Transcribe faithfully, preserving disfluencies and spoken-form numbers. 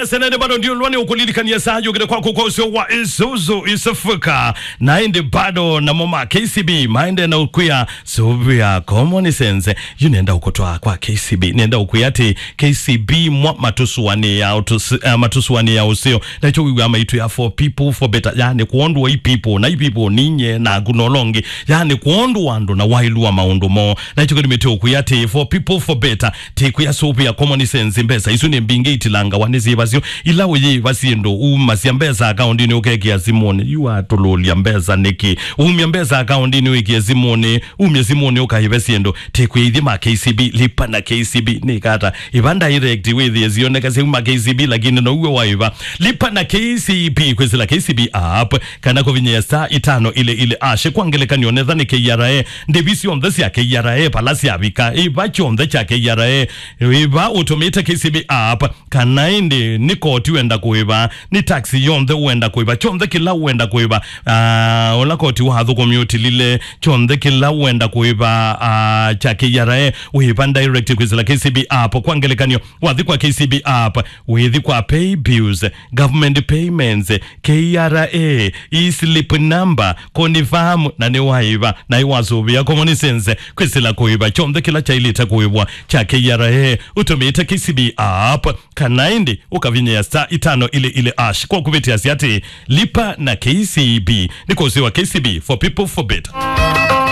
Sena nĩ bado ndio lwani ũkũlilikania saa yũkĩte kwaku kwa ũseo wa Isuzu East Africa. Na ĩndĩ bado namo ma K C B maende na ũkwĩa sũvĩa common sense. Yu nenda ũkũtwaa kwa K C B. Nenda ũkwĩa atĩ K C B mwa matũsũanĩa ũtũs-, eh, matũsũanĩa ũseo. Na ĩkyo wĩw'a maitũ ya for people for better. Yani kwondũ wa i people, na i people ninye na nguna ũlongi. Yani kwondũ wa andũ na wailua maũndũ mo. Na ĩkyo kĩndũ mĩtĩ ũkwĩa atĩ for people for better. Tĩkwĩa sũvĩa common sense, mbesa isu nĩ mbingĩ itilangawa nĩ syĩva syo. Ila ũyĩva syĩndũ, umasya mbesa akaundinĩ ũkekĩa simũnĩ. Yu atũlũlya mbesa nĩkĩ? Umya mbesa akaundinĩ wĩkĩe simũnĩ, umye simũnĩ ũkaĩve syĩndũ. Tĩkwĩa ithyĩ ma K C B, lipa na K C B. Nĩ kata, ĩva direct wĩthĩe sioneka syauma K C B, lakini no uwe waĩva. Lipa na K C B, kwĩsĩla K C B app, kana kũvinyĩa star itano ile ile ash. Kwa ngelekany'o, netha nĩ K R A, ndĩvi syonthe sya K R A vala syavika, ĩva kyonthe kya K R A, ĩva ũtũmĩte K C B app, kana ĩndĩ nĩ koti wenda kũĩva, nĩ tax yonthe wenda kũĩva, kyonthe kĩla wenda kũĩva, ah, ũla koti wa athũkũmi ũtilile, kyonthe kĩla wenda kũĩva, ah, kya K R A, ũĩva direct kwĩsĩla K C B app. Kwa ngelekany'o, wathi kwa K C B app, wĩthi kwa pay bills, government payments, K R A, e-slip number, confirm, na nĩ waĩva, na ĩwasũvĩa common sense, kwĩsĩla kũĩva kyonthe kĩla kyaĩlĩte kũĩvwa kya K R A, ũtũmĩte K C B app, kana ĩndĩ ũkavinyĩa star itano ile ile ash. Kwa kũvĩtĩasya atĩ, lipa na K C B, nĩ kũsĩwa K C B for people for better.